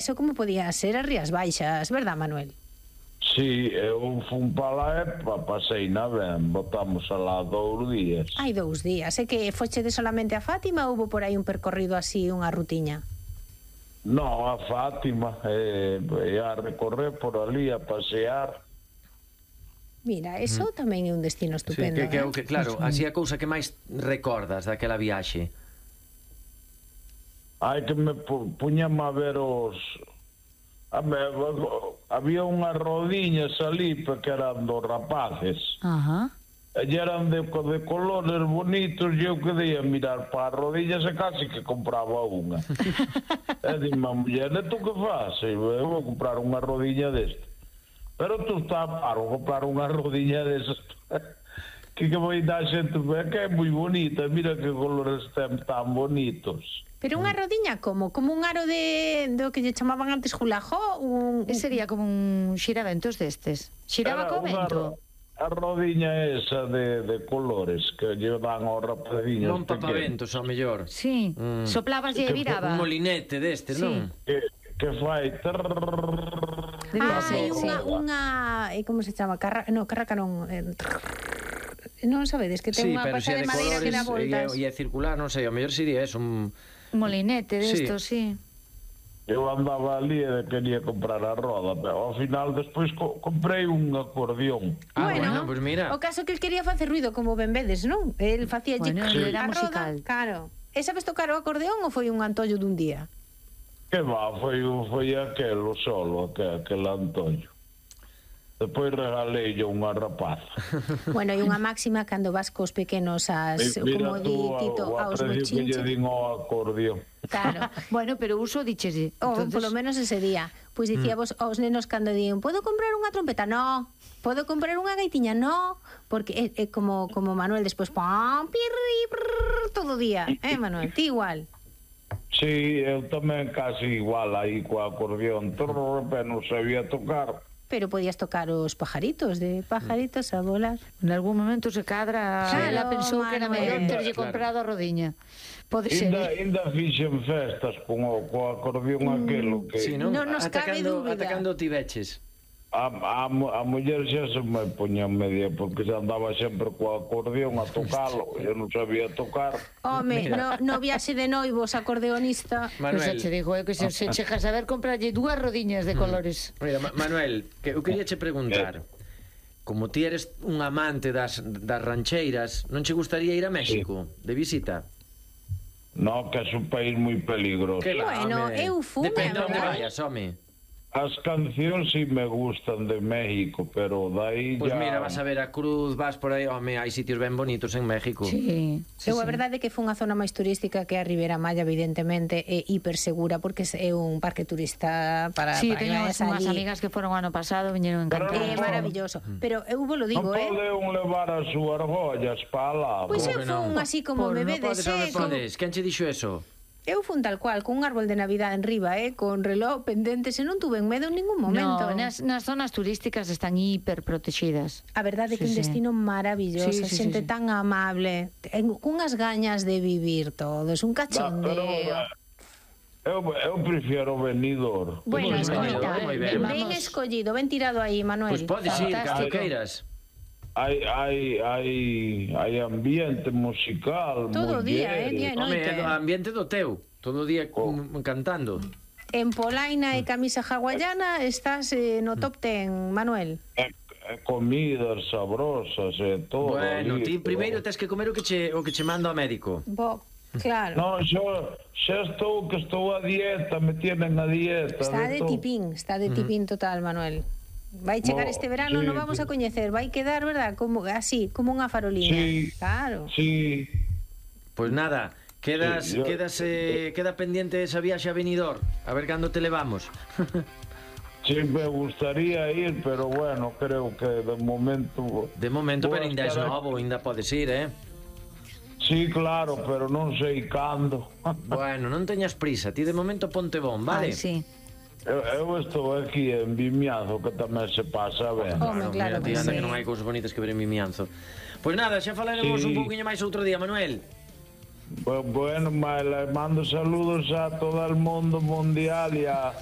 Eso como podía ser as Rías Baixas, verdad, Manuel? Sí, eu fun para lá e pasei na ben, botamos alá 2 días. Hai 2 días, é que fochede solamente a Fátima ou houve por aí un percorrido así, unha rutiña? No, a Fátima, a recorrer por ali, a pasear. Mira, eso tamén é un destino estupendo. Sí, claro, así a cousa que máis recordas daquela viaxe. Hai que me puñame a ver os... había unhas rodiñas ali que eran dos rapaces. Ajá. E eran de colores bonitos e eu quedei a mirar para as rodillas e casi que compraba unha. E dime a muller, e tú que faz? Eu vou comprar unha rodiña deste. Pero tú estás paro comprar unha rodiña desas. Que vai dar xente que é moi bonita, mira que colores ten tan bonitos. Pero unha rodiña como? Como un aro do que lle chamaban antes julajo? Sería como un xiraventos destes. Xiraba co vento. A rodiña esa de colores que lle dan aos rapaziños. Non papaventos, ao mellor. Sí, soplabas e viraba. Un molinete destes, non? Que fai... Sí, unha... Como se chama? Carraca non... Non sabedes que ten unha pata de madeira que dá voltas. E é circular, non sei, ao mellor sería eso, un molinete desto, sí. Eu andaba ali e quería comprar a roda, pero ao final despois comprei un acordeón. Bueno, pues mira. O caso que el quería facer ruido, como ben vedes, non? El facía era musical. Claro. E sabes tocar o acordeón ou foi un antollo dun día? Que va, foi aquelo solo, aquel antollo. Depois regalei yo unha rapaza. Bueno, e unha máxima cando vas cos pequenos como di Tito, aos bochinches. Mira tú, o aprecio que lle din ao acordeón. Claro. Bueno, pero uso dichese. Polo menos ese día. Pois dicíamos aos nenos cando din, podo comprar unha trompeta? No. Podo comprar unha gaitiña? No. Porque é como Manuel despois, pam, pirri, prrr, todo o día. Manuel, ti igual. Sí, eu tamén casi igual aí co acordeón. Pero non sabía tocar. Pero podías tocar os pajaritos, de pajaritos a volar. En algún momento se cadra, ela pensou que era mellor terlle comprado a rodiña. Pode ser. Ainda fixen festas co acordeón aquelo que... Sí, non? nos cabe dúbida. Ata cando ti veches? A muller xa se me poña media porque xa andaba sempre co acordeón a tocalo, eu non sabía tocar. Home, no viaxe de noivos acordeonista. Manuel, se digo que se chegas a ver comprarlle 2 rodiñas de colores. Mira, Manuel, que eu quería che preguntar, como ti eres un amante das rancheiras, non che gustaría ir a México de visita? No, que é un país moi peligroso. Bueno, eu fui. Depende onde vayas, home. As cancións si me gustan de México, pero dai Pues mira, vas a ver a Cruz, vas por aí, home, hai sitios ben bonitos en México. Sí. A verdade é que foi unha zona máis turística que a Ribeira Maya, evidentemente, é hipersegura porque é un parque turista para... Sí, teño unhas amigas que foron o ano pasado, viñeron encantadas. É maravilloso, pero eu vos lo digo, non pode un levar as súas argollas para lá. Pois eu fui así como bebé de seco. Quen che dixo eso? Eu fun tal cual, con un árbol de Navidad en riba, con reloj pendentes, e non tuve medo en ningún momento. No, nas zonas turísticas están hiperprotegidas. A verdade é que un destino maravilloso, xente tan amable, cunhas gañas de vivir todos, un cachondeo. Eu prefiero Benidorm. Bueno, ben escollido, ben tirado aí, Manuel. Pois podes ir, cando queiras. Hai ambiente musical todo día, día e noite. Home, ambiente do teu, todo o día cantando. En polaina e camisa hawaiana estás no top 10, Manuel. Comidas sabrosas e todo. Bueno, ti primeiro tens que comer o que che manda o médico. Claro. No, xa estou a dieta, me tienen a dieta. Está de tipín total, Manuel. Vai chegar este verano, non vamos a coñecer, vai quedar, verdad, como así, como unha farolina. Sí, claro. Sí. Pois nada, queda pendiente esa viaxe a Benidorm, a ver cando te levamos. Sí, me gustaría ir, pero bueno, creo que de momento... De momento, pero ainda é novo, ainda podes ir, Sí, claro, pero non sei cando. Bueno, non teñas prisa, ti de momento ponte bon, vale? Sí. Eu estou aquí en Vimianzo, que tamén se pasa ben. Claro que anda que non hai cousas bonitas que ver en Vimianzo. Pois nada, xa falaremos un pouquinho máis outro día, Manuel. Bueno, mando saludos a todo o mundo mundial e a